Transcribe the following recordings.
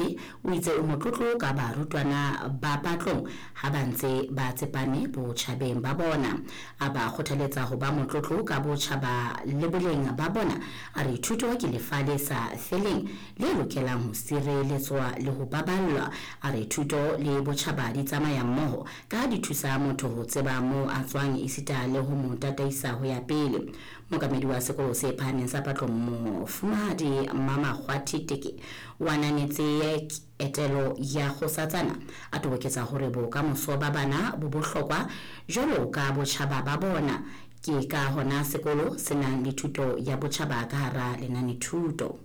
Senate o itse o motlotlo ka barutwana ba Patlong ha ba ntse ba tsepame botjhabeng ba bona. A ba kgothaletsa ho ba motlotlo ka botjhaba le boleng ba bona. A re thuto ke lefa le sa feleng le lokelang ho sireletswa le ho baballwa. A re thuto le botjhaba di tsamaya mmoho ka di thusa motho ho tseba moo a tswang esita le ho mo tataisa ho ya pele. Mookamedi wa sekolo se phahameng sa Patlong, Mofumahadi Mmamakgwathi Teke, o ananetse etelo ya kgosatsana, a toboketsa hore bokamoso ba bana bo bohlokwa jwalo ka botjhaba ba bona. Ke ka hona sekolo se nang le thuto ya botjhaba ka hara lenanethuto.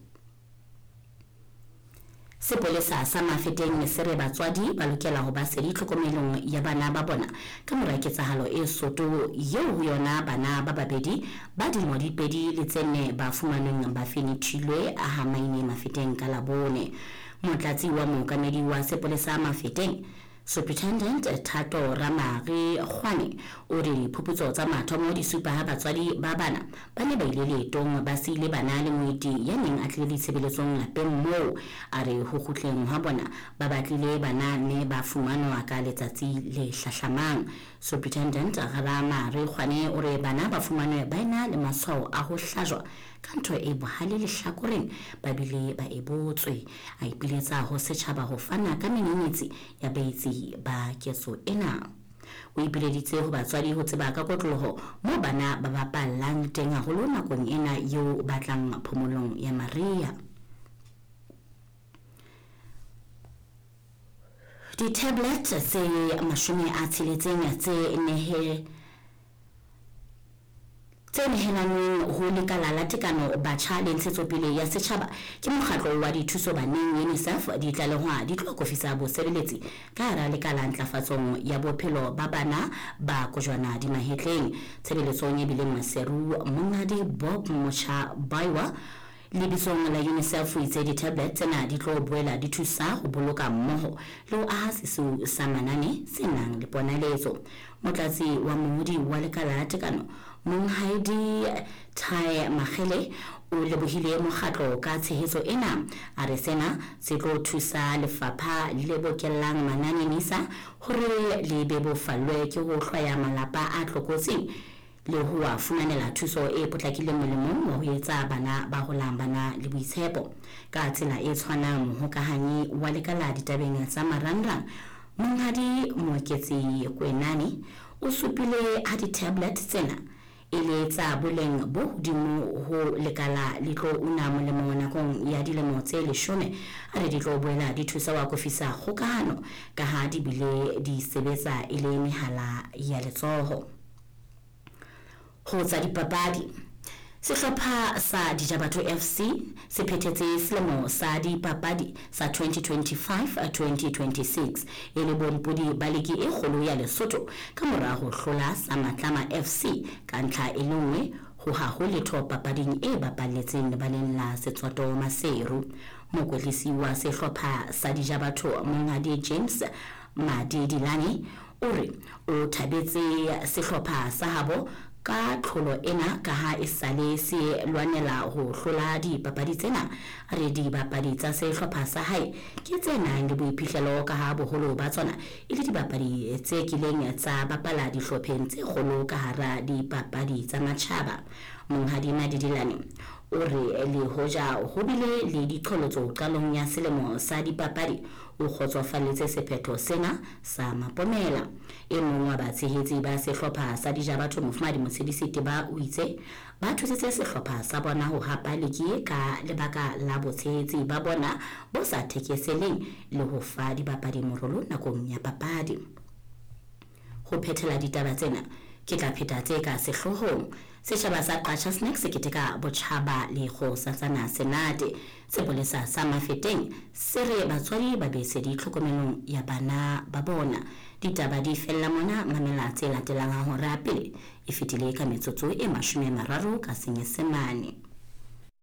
Sepolesa sa Mafeteng se re batswadi ba lokela ho ba sedi tlhokomelong ya bana ba bona ka mora ketsahalo e soto eo ho yona bana ba babedi ba dilemo di 2 le tse 4 ba fumanweng ba fenethilwe ha Maine Mafeteng ka Labone. Motlatsi wa mookamedi wa sepolesa Mafeteng, Superintendent Thato Ramare Kgwane, o re diphuputso tsa mathomo di supa ha batswadi ba bana ba ne ba ile leetong ba siile bana le moeti ya neng a tlile ditshebeletsong lapeng moo. A re ho kgutleng ha bona ba batlile bana mme ba fumanwa ka letsatsi le hlahlamang. Superintendent Ramare Kgwane o re bana ba fumanwe ba ena le matshwao a ho hlajwa ka ntho e bohale lehlakoreng ba bile ba e botswe. A ipiletsa ho setjhaba ho fana ka menyenyetsi ya baetsi ba ketso ena. O ipileditse ho batswadi ho tseba ka kotloloho moo bana ba bapallang teng haholo nakong ena eo ba tlang phomolong ya mariha. Di-tablet tse 60 tse nehelanweng ho lekala la tekano batjha le ntshetsopele ya setjhaba ke mokgatlo wa dithuso baneng UNICEF di tlalehwa di tlo akofisa bosebeletsi ka hara lekala ntlafatsong ya bophelo ba bana ba kojwana di mahetleng. Tshebeletsong e bileng Maseru, Monghadi Bob Motjha Baiwa lebitsong la UNICEF o itse di-tablet tsena di tlo boela di thusa ho boloka mmoho le ho aha sesiu sa manane se nang le ponaletso. Motlatsi wa mongodi wa lekala la tekano, Monghadi Tai Magele, o lebohile mokgatlo ka tshehetso ena. A re sena se tlo thusa lefapha le bokellang manane NISA hore le bebofallwe ke ho hlwaya malapa a tlokotsing le ho a fumanela thuso e potlakileng molemong wa ho etsa bana ba holang bana le boitshepo. Ka tsela e tshwanang, mohokahanyi wa lekala ditabeng tsa marangrang, Monghadi Moeketsi Kwenane, o supile ha di-tablet tsena e le tsa boleng bo hodimo ho lekala le tlo una molemo nakong ya dilemo tse 10. A re di tlo boela di thusa ho akofisa kgokahano ka ha di bile di sebetsa e le mehala ya letsoho. Ho tsa dipapadi, sehlopha sa Dijabatho FC se phethetse selemo sa dipapadi sa 2025-2026 e le bompodi ba ligi e kgolo ya Lesotho ka mora ho hlola sa Matlama FC ka ntlha e le nngwe ho ha ho letho papading e bapalletseng lebaleng la Setswato Maseru. Mokwetlisi wa sehlopha sa Dijabatho, Monghadi James Madidilane, o re o thabetse sehlopha sa habo ka tlholo ena ka ha e sale se lwanela ho hlola dipapadi tsena. A re dibapadi tsa sehlopha sa hae ke tse nang le boiphihlelo ka ha boholo ba tsona e le dibapadi tse kileng tsa bapala dihlopheng tse kgolo ka hara dipapadi tsa matjhaba. Monghadi Madidilane o re le hoja ho bile le diqholotso qalong ya selemo sa dipapadi, o kgotsofalletse sephetho sena sa mapomela. E mong wa batshehetsi ba sehlopha sa Dijabatho, Mofumahadi Motshedisi Teba, o itse ba thusitse sehlopha sa bona ho hapa ligi ka lebaka la botshehetsi ba bona bo sa thekeseleng le ho fa dibapadi morolo nakong ya papadi. Ho phethela ditaba tsena, ke tla pheta tse ka sehloohong. Setjhaba sa Qacha Snacks se keteka botjhaba le kgosatsana Senate. Sepolesa sa Mafeteng se re batswadi ba be sedi tlhokomelong ya bana ba bona. Ditaba di fella mona, mamela tse latelang ha hora pele e fetile ka metsotso e 30 ka Senyesemane.